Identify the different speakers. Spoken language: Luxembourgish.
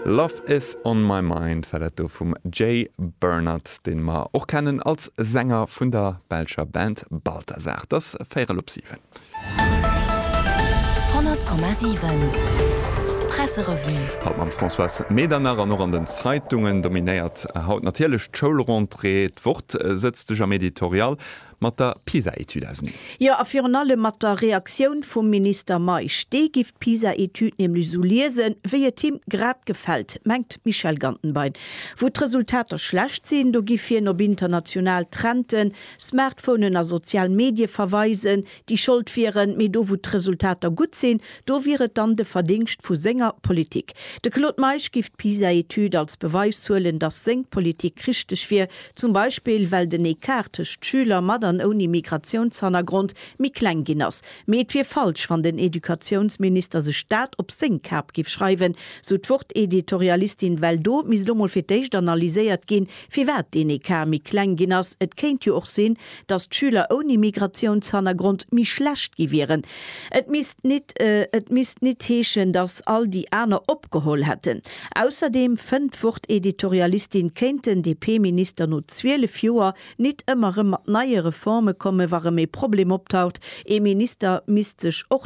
Speaker 1: Love Is On My Mind war dat do vum Jay Bernardt, deen mer och kennen als Sänger vun der belscher Band Balthazar. Et ass véierel op 7.
Speaker 2: 100,7 Presserevue.
Speaker 1: Haut mam Françoise Medernach an och an den Zeitungen dominéiert haut natierlech d'Schoulrentrée. D'Wort sëtzt sech am Editorial mat der PISA-Etüd auseneen.
Speaker 3: Jo, a virun allem mat der Reaktioun vum Minister Meisch. Dee giff d'PISA-Etüd nämlech esou liesen, wéi et him grad gefält, mengt d'Michèle Gantenbein. Wou d'Resultater schlecht sinn, do giff hien op international Trenten, Smartphonen a sozial Medie verweisen, déi Schold wieren, mee do wou d'Resultater gutt sinn, do wier et dann de Verdingscht vu senger Politik. De Claude Meisch giff d'PISA-Etüd als Beweis huelen, datt seng Politik richteg wier, zum Beispill well den Ecart tëscht Schüler mat an ouni Migratiounshannergrond méi kleng ginn ass. Mee et wier falsch, wann den Educatiounsminister sech dat op seng Kap giff schreiwen, sou d'Wort-Editorialistin, well do misst lo mol fir d'éischt analyséiert ginn, firwat deen Ecart méi kleng ginn ass. Et kéint jo och sinn, datt d'Schüler ouni Migratiounshannergrond méi schlecht gi wieren. Et misst nit et misst nit heeschen, datt all déi aner opgeholl hätten. Ausserdeem, fënnt d'Wort-Editorialistin, kéint den DP-Minister no 12 Joer nit ëmmer rëm mat neie Reforme kommen, wa rëm ee Problem optaucht. Ee Minister misst sech och.